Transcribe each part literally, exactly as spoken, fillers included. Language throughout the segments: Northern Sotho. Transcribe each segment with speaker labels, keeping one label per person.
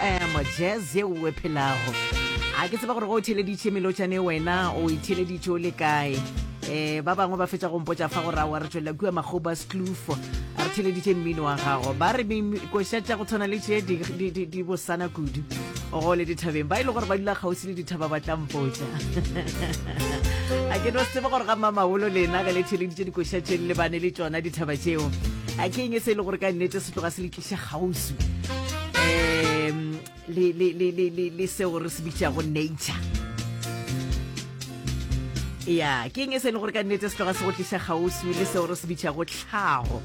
Speaker 1: F M, jazz ye o e phelago. A ke tseba gore go o theleditše melotšane, wena o e theleditše o le kae? um ba bangwe ba fetša go mpotša fa gore awa, re tšwelela kua Makgoba Kloof, re theleditše mmino wa gago. Ba re koša tša go tshwana le tše di- di- di di bosana kudu go le dithabeng. Ba e le gore ba dula kgauswi le dithaba ba tla mpotša. A ke no se tsebe gore ga mamaholo lena ge le theleditše dikoša tše le lebane le tšona dithaba tšeo, a ke eng e se e le gore ka nnete se tloga se le tliša kgauswi um le, le, le, le, le, le seo re se bitšago nature? Ya, ke eng e se e le gore ka nnete se tloga se go tliša kgauswi le seo re se bitšago tlhago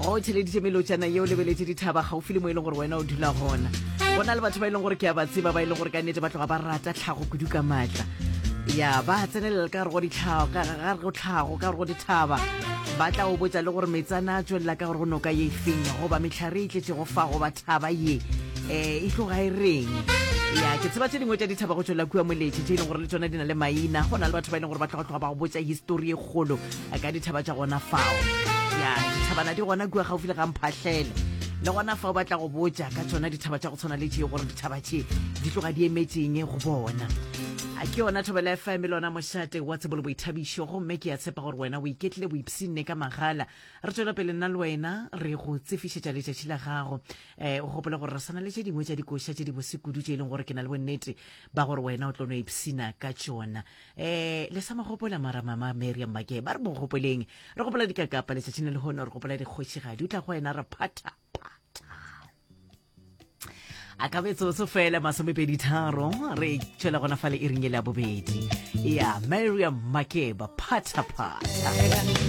Speaker 1: go o theleditše melotšana yeo, lebeletše dithaba gaufi le mo e leng gore wena o dula gona? Go na le batho ba e leng gore ke a ba tseba, ba e leng gore ka nnete ba tloga ba rata tlhago kudu ka maatla. Ya, ba tsenelela ka gare go ditlhago, ka gare go tlhago, ka gare go dithaba. Ba tla o botša le gore metsana a tswelela ka gore go noka ye efeng, goba metlhare e tletšego fa, goba thaba ye um e tloga e reng. Ya, ke tseba tše dingwe tša dithaba go tšwelela kua Moletše tše e leng gore le tšona di na le maina. Go na le batho ba e leng gore ba tloga tloga ba go botša histori e kgolo ka dithaba tša gona fao. Ya, dithabana di gona kua gaufi le ga Mphahlele, le gona fao ba tla go botša ka tšona dithaba tša go tshwana le tše, gore dithaba tše di tloga di emetšeng go bona. A ke yona Thobela F M, le lona mošate wa tsebo le boithabišo, gomme ke a tshepa gore wena o iketlile boipshinne ka magala. Re tswela pele nna le wena re go tsefišetša letšatši la gago. um o gopole gore re sana le tše dingwe tša dikoša tše di bose kudu tše e leng gore ke na le bonnete ba gore wena o tlo no ipshina ka tšona. um le sa mo gopola mara mama Mariam Make, ba re mo gopoleng. Re gopola dikakapa letšatšing le lehono, re gopola dikgošigadi. O tla go wena re phata phata a ka metsotso fela masomepedi tharo re tšwela gona fale e ringele ya bobedi. Ya, Mariam Makeba, Phata Phata.